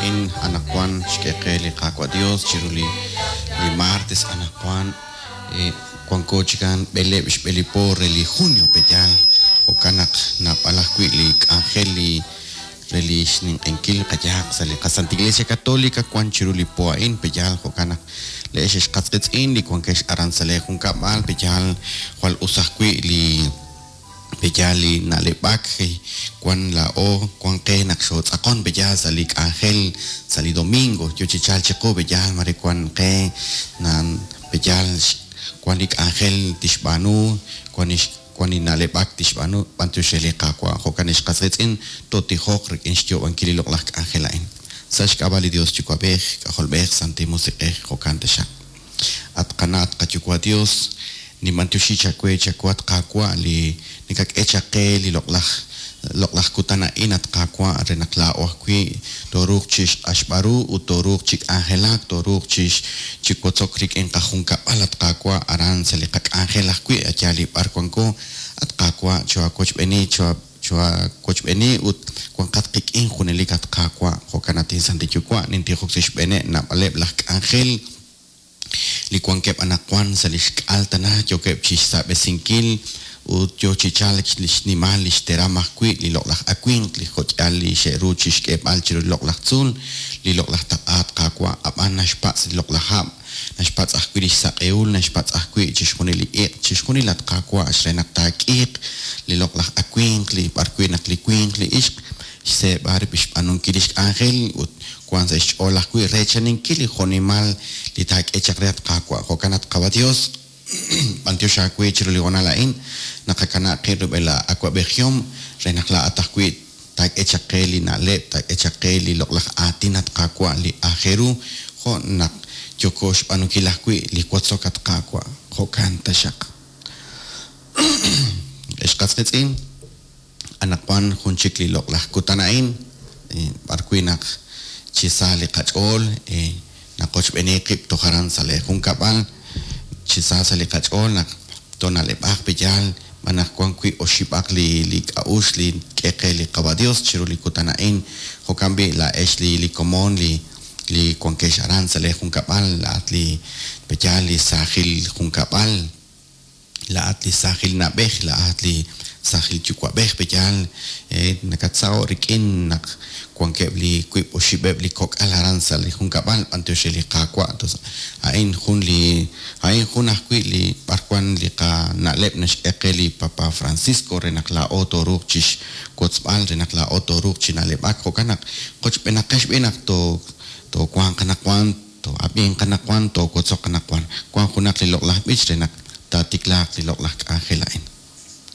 a'in anaqwan xk'e qe li Qaawa' Dios chiru li li martes anaqwan wanko chikan b'eleeb' xb'e li po re li junio pe'yaal jo'kan naq naab'al ajwi' li k'anjel li re li xninq'ehinkil qayehaq sa' li qaSanta Iglesia Católica wan chiru li po a'in pe'yaal jo'kan naq le'ex ex qas qiitz'in li wankex aran sa' lee junkab'al pe'yaal jwal us ajwi' li pe'yaal li na'leb'ak wan laa'o wan qe naq xootz'aqon pe'yaal sa' li k'anjel sa' li domingo yo chi chalk chiqu pe'yaal mare wan qe pe'yaal wan li k'anjel tixb'aanu wan li wan li na'leb'ak tixb'aanu b'antiox re li Qaawa' jo'kan ex qas qiitz'in tootijoq rik'in xyoob'ankil li loq'laj k'anjel a'in sa' xk'ab'a' li Dios Yuwa'b'ej K'ajolb'ej Santil Musiq'ej jo'kan taxaq. At qana' at qaYuwa' Dios, ninb'antioxi chawe chawu at Qaawa' li nakak'e chaq qe li loq'laj loq'laj kutan a'in at Qaawa' re naq laa'o ajwi' tooruuq chi xq'axb'al ru ut tooruuq chi k'anjelak tooruuq chi chi wotzok rik'in qajunkab'al at Qaawa' aran sa' li qak'anjel ajwi' a' yaal li b'ar wanko at Qaawa' choohawochb'eeni choohawochb'eeni ut wanqat qik'in junelik at Qaawa' jo'kan at inSantil Yuwa' nintijok sa' xb'eeneb' naab'aleb' laj k'anjel li wankeb' anaqwan sa' li xk'al tana yookeb' chi xsaab'esinkil ut yo chi chalk li xnimal li xteram ajwi' li loq'laj awimq li jo'k'ihal li xe'ru chi xk'eeb'al chiru li loq'laj tzuul li loq'laj taq'a at Qaawa' ab'an naxpatz' li loq'laj hab' naxpatz' ajwi' li xsaq'ehul naxpatz' ajwi' chixjunil li iq' chixjunil at Qaawa' re naq taak'iiq li loq'laj awimq li b'arwi' naq li winq li ixq xseeb'a rib' xb'aanunkil li xk'anjel ut wank sa' xch'ool ajwi' reechaninkil li jo'nimal li taak'e chaq re at Qaawa'. Jo'kan at Qawa' Dios, b'antiox aawe chiru li hoonal a'in, naqakanab' qib' rub'el aawa'b'ejihom re naq laa'at ajwi' taak'e chaq qe li na'leb', taak'e chaq qe li loq'laj aatin at Qaawa' li aajel ru jo' naq yooko xb'aanunkil ajwi' li wotzok at Qaawa'. Jo'kan taxaq. Ex qas qiitz'in, anaqwan jun chik li loq'laj kutan a'in b'arwi' naq chi sa li qach'ool naqochb'eeni qib' toj aran sa' lee junkab'al chi sa sa' li qach'ool naq toona'leb'aq pe'yaal b'an naq wan wi' oxib'aq li li k'a'uxl li k'e qe li Qawa' Dios chiru li kutan a'in jo'kan b'i' laa'ex li li komon li li wankex aran sa' lee junkab'al laa'at li pe'yaal li saajil junkab'al Laa'at li saajil na'b'ej, laa'at li saajil yuwa'b'ej, pe'yaal nakatsaho' rik'in naq wankeb' li wiib' oxib'eb' li kok'al aran sa' li junkab'al, b'antiox re li Qaawa'. A'in jun li a'in jun ajwi' li b'arwan li qana'leb' naxk'e qe li Papa Francisco re naq laa'o tooruuq chixwotzb'al, re naq laa'o tooruuq chi na'leb'ak. Jo'kan naq qochb'eenaqex b'i' naq toowanq anaqwan. Too'ab'inq anaqwan, toowotzoq anaqwan. Wank junaq li loq'laj b'ich re naq taatiklaaq li loq'laj k'anjel a'in.